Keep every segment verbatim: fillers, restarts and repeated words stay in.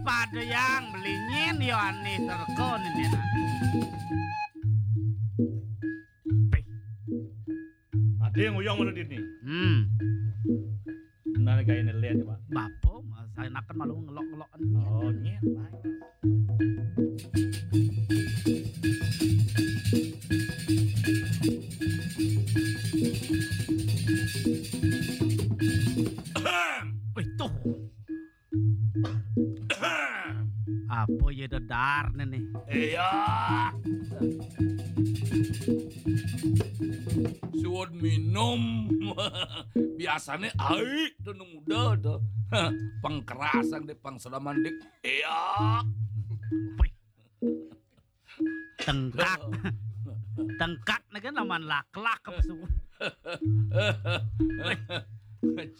Padayang belinyin yo anih terko nini. Ade nguyong mana dini? Hmm. Nah, gaya ini lihat ya, Pak. Bapo, mas, saya nakan malu ngelok-ngelok. Oh, nyet, Pak. Wih, tuh. Apa ya dedar nih? Iya. Suwun minum. Biasane aik to nang muda to. Pengkeras ang de pangsedaman dik. Iya. Tengkak. Tengkak ne kan laman laklak ke pesu.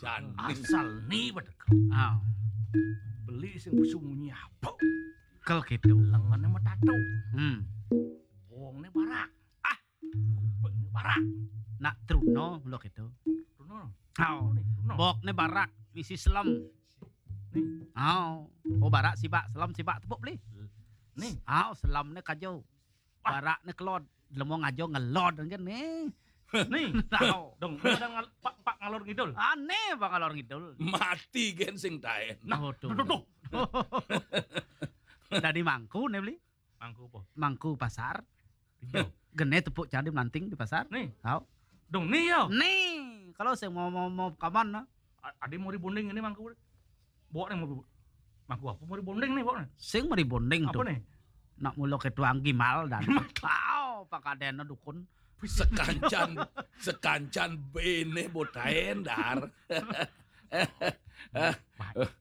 Jan asal ni bedek. Ah. Beli sing pesu munyi apa? Kel gitu. Lengene metato. Hmm. Wongne barak. Ah, kupingne barak. Nak truno lo gitu. Truno. Hao. Truno ni, truno. Bokne barak, misi selem. Ni. Hao. Oh, barak sibak, selem sibak tepuk beli. Ni. Hao, selemne kajo. Wah. Barakne kelod. Lemo ngajo ngelod kan ni. Ni. Hao. Dong, ada ngal, pak, pak ngalor ngidul. Aneh bang ngalor ngidul. Mati gen sing taen. Nah, tuh, tuh, tuh. Dadi mangku ne beli. Mangku apa? Mangku pasar. Iya. Gene tepuk candi melanting di pasar. Nih. Hao. Dong ni ya. Nih, kalau saya mau mau mau kaman nah. A- Adi mau ribonding ini mangku. Bawa nih mau mangku apa mau ribonding nih bawa nih. Sing meribonding apa tuh nih? Nak mulo ke tuang gimal dan. Wow, pakadena dukun. Sekancan sekancan bene botaen dar.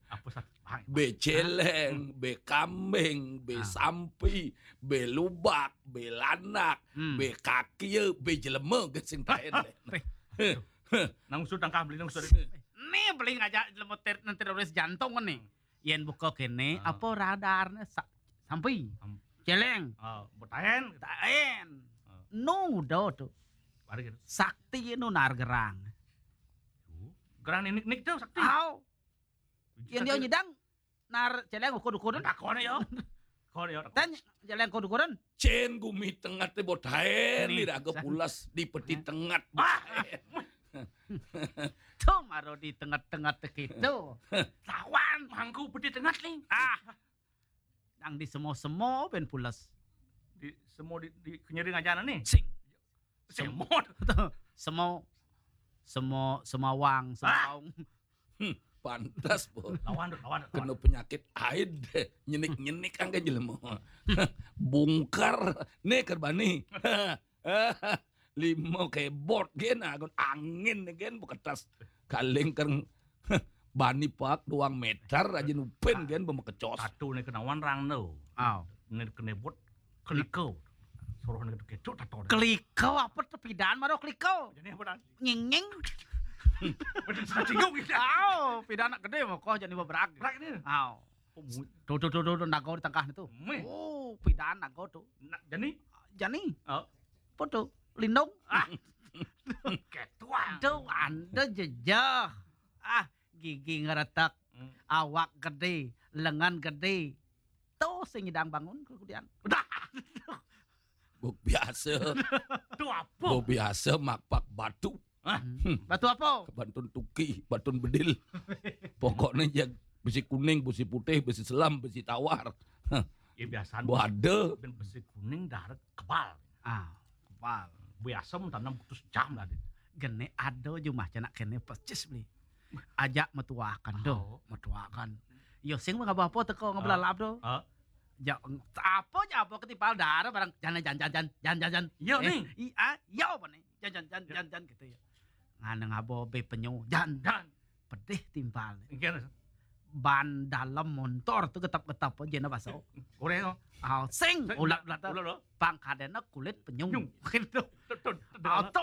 Apa satu? Be celeng, be kambing, be sampi, be lubak, be lanak, hmm, be kakia, be jelema ke sing taen. Nang usut tangkah beli nang usut. Ni beli ngajak jelema ter- nang teroris jantung ni. Yen buka kene, apa radarne sa- sampi. Celeng. Oh, betaen. Taen. Oh. Nu do tu. Sakti nu nar gerang. Gerang ni nik nik tu sakti. Au. Yen dia nyidang nar celeng ukur-ukuran. Takon yo. Kon yo. Ten celeng ukur-ukuran. Cen gumi tengat te botaen ni raga pulas di peti tengat. Ah. Tu maro di tengat-tengat te kitu. Lawan mangku peti tengat ni. Ah. Nang di semo-semo ben pulas. Di semo di, di kenyeri ngajana ni. Sing. Semot. Semo semo semawang, semaung. Hmm, pantas po. Lawan tu, lawan tu. Kena penyakit aid nyenik-nyenik angge jelema. Bungkar ne kerbani. Lima kebot gen agun angin gen beketas. Kaling keng bani pak duang meter aja nupen gen bemekecos. Satu ne kenawan rang tu. Au. Ne kene bot keliko. Suruh ne ketuk tato. Keliko apa tu pidan maro keliko? Jadi apa dan? Nying nying. Betul satu tinggung gitu. Au, pidan nak gede mah kok jadi beberag. Berak ni. Au. Tuh tuh tuh tuh nago di tengah tu. Oh, pidan nago tu. Nak jani? Jani. Oh. Apa tu? Lindung. Ah. Ketua. Aduh, anda jejah. Ah, gigi ngeretak, hmm, awak gede, lengan gede. Tuh sing nyidang bangun kemudian. Udah. Buk biasa. Tu apa? Buk biasa makpak batu. Hah? Hmm. Batu apa? Bantun tuki, bantun bedil. Pokoknya jag besi kuning, besi putih, besi selam, besi tawar. Hah. Ya biasa. Bu ada. Besi kuning dah kebal. Ah, kebal. Biasa tanam putus jam lah. Gene ada jumah cenak kene percis beli. Ajak metuakan do, oh, metuakan. Yo sing ngapa apa teko ngebelalap do. Ah. Jak apa jak apa ketimpal darah barang jan jan jan jan jan jan jan. Yo eh, ni. I a yo apa ni? Jan jan jan jan jan gitu ya. Ngana ngabo be penyu jan jan. Pedih timpal. Ban dalam montor tu getap-getap aja na baso. Koreo. Au sing ulat ulat tu. Pangkadena kulit penyu. Gitu. Au tu.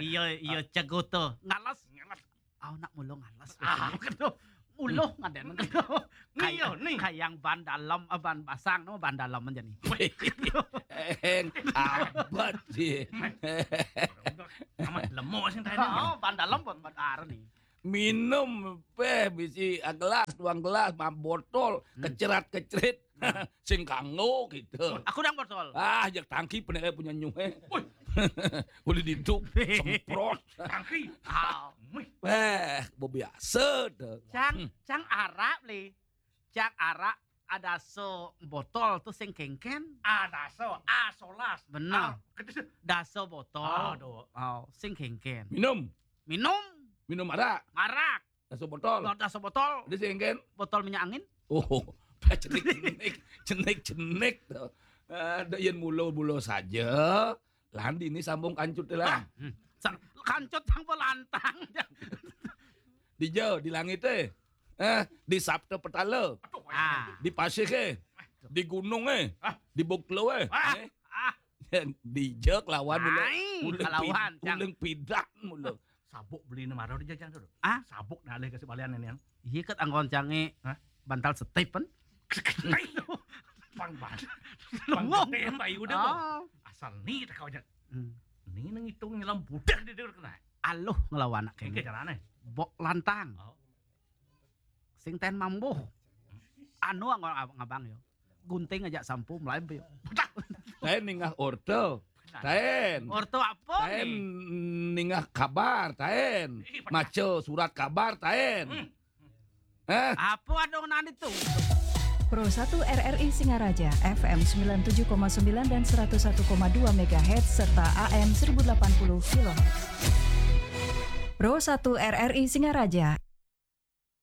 Iya iya cego tu. Ngalas. Ngalas. Au nak mulo ngalas. Ah, gitu. Uluh ngaden gitu. Iya ni. Kayang ban dalam, eh, ban basang no ban dalam aja ni. Eng abad sih. Amat lemo sing tadi. Oh, ban dalam ban ban ar ni. Minum, béh, bisi, ah, gelas, duang gelas, ma botol, kecerat-kecerit. Sing kanggo gitu. Aku dang botol. Ah, jak tangki peneleh punya nyuhe. Boleh diduk, semprot. Tangki. Ah, Mih. Béh, biasa tuh. cang, cang arak li. Cang arak ada so botol tuh sing kengken. Ada so, asolas. Bener. Ah, kecil. Daso botol. Aduh. Oh, sing kengken. Minum, Minum minum arak, marak. daso botol. Kalau daso botol, Ada sing kengken. Botol minyak angin. Oh, cenik-cenik, cenik-cenik tuh. Ada yang mulo-mulo saja. Landi ini sambung kancut lah. Sang, kancut sang pelantang. Di jauh, di langit eh. Eh, di Sabta Petala. Ah, Di pasir eh. Di gunung eh. Di buklo eh. Ah. Eh, di jauh lawan mula. Ai, Mula kalawan, pid- Cang. Mula pidak mula. Sabuk beli nama di jajan tuh. Ah? Sabuk dah alih kasih balian ini yang. Iya kat anggon cange. Hah? Bantal setip kan. Pang ban. Lengong. Pang gede yang bayu udah tuh. Oh. Asal ni tak kau aja. Hmm. Ni nang hitung nyelam budak dia dia kena. Aluh ngelawan anak Ini kengken. caranya. Bok lantang. Oh. Sing ten mambuh. Anu anggon abang-abang yo. Gunting aja sampu melai yo. Taen ningah orto. Taen. Orto apa Taen nih? Ningah kabar, taen. Maca surat kabar, taen. Eh, Apa ada nang itu? Pro satu R R I Singaraja, F M sembilan tujuh koma sembilan dan seratus satu koma dua megahertz serta A M seribu delapan puluh kilohertz. Pro satu R R I Singaraja,